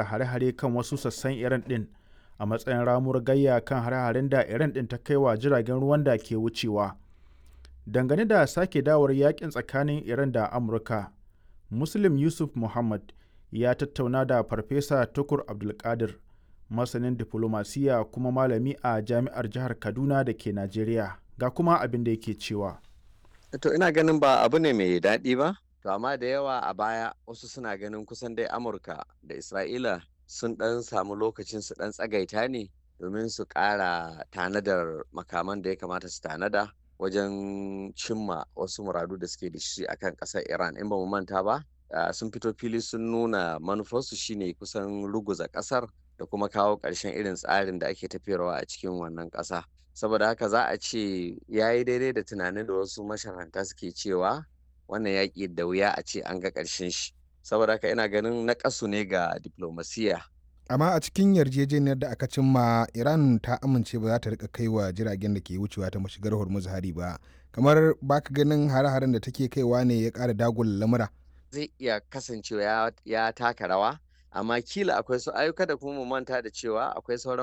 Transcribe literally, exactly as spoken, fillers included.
Hare-hare kan wasu sassan Iran ɗin a matsayin ramuwar gayya kan hare-haren da Iran ɗin ta kai wa jiragen ruwan da ke wucewa. Dangane da sake dawowar yaƙin tsakanin Iran da Amurka, Muslim Yusuf Mohammed ya tattauna da Farfesa Tukur Abdulkadir, masanin diflomasiyya kuma malami a Jami'ar Jihar Kaduna da ke Najeriya, ga kuma abin da yake cewa. To ina ganin ba abu ne mai daɗi ba, to amma da yawa a baya wasu suna ganin kusan dai Amurka da Isra'ila sun ɗan samu lokacin su ɗan tsagaita ne domin su ƙara tanadar makaman da ya kamata su tanada wajen cimma wasu muradu da suke da shi akan ƙasar Iran. In ba mu manta ba, sun fito fili sun nuna manufarsu shine kusan ruguza ƙasar da kuma kawo ƙarshen irin tsarin da ake tafiyarwa a cikin wannan ƙasa. Saboda haka za a ce ya yi daidai da tunanin da wasu masharhanta suke cewa wannan yaƙi da wuya a ce an ga ƙarshen shi. Saboda haka ina ganin naƙasu ne ga diplomasiya. Amma a cikin yarjejeniyar da aka cimma, Iran ta amince ba za ta rika kaiwa jiragen da ke wucewa ta mashigar Hormuz hari ba. Kamar baka ganin hare-haren da take kaiwa ne ya ƙara dagula lamura? Zai iya kasancewa ya taka rawa, amma kila akwai su ayyuka da kuma mu manta da cewa akwai sauran